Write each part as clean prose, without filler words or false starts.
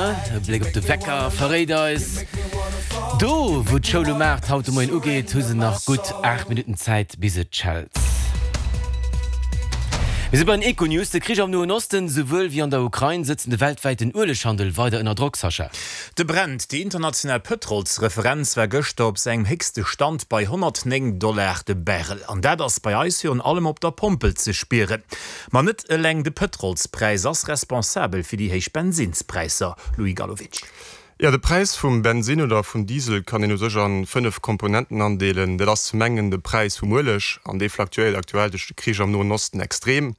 Auer. E Bléck op de Wecker verréit eis, Do wou d'Schoul um 8 haut de Moien ugeet, hu se nach gutt 8 Minutten Zäit bis et schellt. Mir si bei den Econews. De Krich am Noen Osten, souwuel wéi an der Ukrain, sëtzen de weltwäiten Ueleghandel weider ënner Drock, Sascha. De Brent, déi international Pëtrolsreferenz, war gëschter op sengem héchste Stand bei 109 Dollar de Barrel. An dat ass bei eis virun allem op der Pompel ze spieren. Ma net eleng de Pëtrolspräis ass responsabel fir déi héich Bensinnspräisser, Louis Gallowitsch. Jo, de Präis vum Bensinn oder vum Diesel kann een u sech a 5 Komponenten andeelen. Dat ass zum engen de Präis vum Ueleg, an dee flaktuéiert aktuell duerch de Krich am Noen Osten extrem.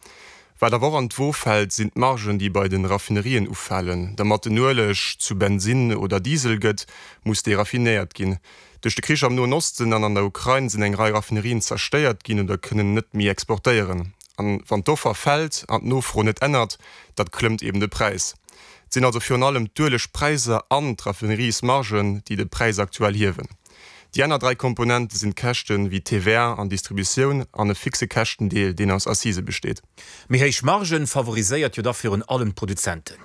Wat awer och an d'Wo fält, sinn d'Margen, déi bei de Raffinerien ufalen. Dermat den Ueleg zu Bensinn oder Diesel gëtt, muss dee raffinéiert ginn. Duerch de Krich am Noen Osten an an der Ukrain sinn eng Rei Raffinerien zerstéiert ginn oder kënnen net méi exportéieren. An wann d'Offer fält an d'Nofro net ännert, dat klëmmt eben de Präis. Et sinn also virun allem d'Uelegpräisser an d'Raffineriesmargen, déi de Präis aktuell hiewen. Déi aner 3 Komponente sinn d'Käschten, wéi TVA an Distributioun, an e fixe Käschtendeel, deen aus Assisë besteet. Méi héich Margen favoriséiert jo da virun allem d'Produzenten.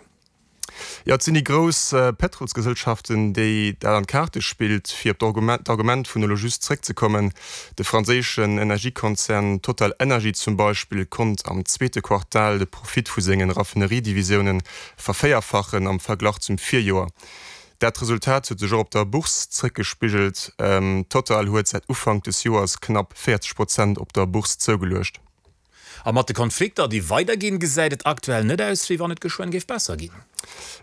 Jo, et sinn déi grouss Pétrolsgesellschaften, déi dat an d'Kaarte spillt. Fir op d'Argument vun elo just zréckzekommen, De franséischen Energiekonzern Total Energie zum Beispill konnt am zweete Quartal de Profit vu sengen Raffineriedivisioune vervéierfachen am Verglach zum Virjoer. Dat Resultat huet sech och op der Bourse zréckgespigelt. Total huet säit Ufank des Joers knapp 40 Prozent op der Bourse zougeluecht. A mat de Konflikter, déi weiderginn, gesäit et aktuell net aus, wéi wann et geschwënn géif besser ginn.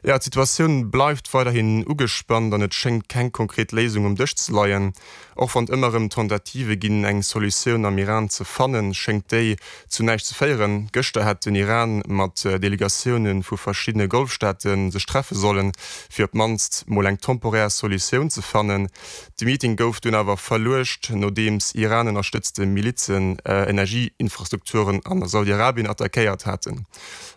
Jo, d'Situatioun bleift weiderhin ugespannt an et schéngt keng konkret Léisung um Dësch ze leien. Och wann et ëmmer erëm Tentative ginn, eng Solutioun am Iran ze fannen, schéngt déi zu näischt ze féieren. Gëschter hätt den Iran mat Delegatioune vu verschiddene Golfstaate sech treffe sollen, fir op d'mannst mol eng temporär Solutioun ze fannen. De Meeting gouf dunn awer verluecht, nodeems Iran-ënnerstëtzte Milizen Energieinfrastrukturen a Saudi-Arabien attackéiert haten.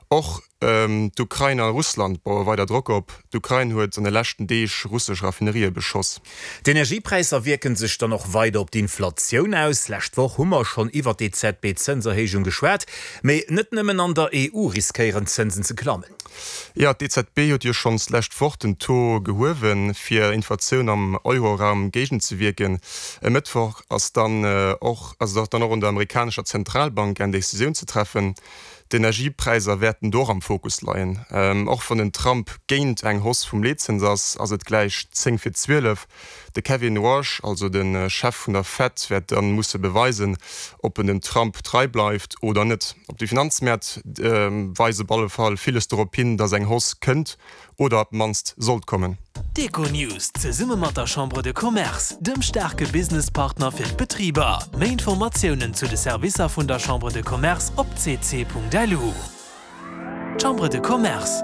Och d'Ukrain a Russland baue weider Drock op. D'Ukrain huet an de leschten Deeg russesch Raffinerië beschoss. D'Energiepräisser wierke sech dann och weider op d'Inflatioun aus. Lescht Woch hu mer schonn iwwer d'EZB-Zënserhéijung geschwat. Mee net nëmmen an der EU riskéieren d'Zënsen ze klammen. Jo, d'EZB huet jo schonns d'lescht Woch den Taux gehuewen, fir Inflatioun am Euroraum géigenzewierken. E Mëttwoch ass dann och ass et dann och un der amerikanescher Zentralbank eng Decisioun ze treffen. D'Energiepräisser wäerten do och am Fokus leien. Och wann den Trump géint eng Hausse vum Leetzëns ass, ass et gläich 10 fir 12. De Kevin Warsh, also de Chef vun der Fed, wäert dann musse beweisen, ob en dem Trump trei bleift oder net. Op de Finanzmäert weist op alle Fall villes dorop hin, datt eng Hausse kënnt oder op d'mannst sollt kommen. D'Econews zesumme mat der Chambre de Commerce, dem staarke Businesspartner fir d'Betriber. Méi Informatiounen zu de Servicer vun der Chambre de Commerce op cc.lu. Chambre de Commerce,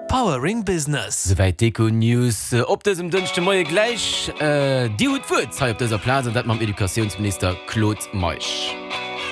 Powering Business. Souwäit d'Econews op dësem Dënschde Moie. Gläich, Dir hutt d'Wuert hei op dëser Plaz, an dat mam Educatiounsminister Claude Meisch.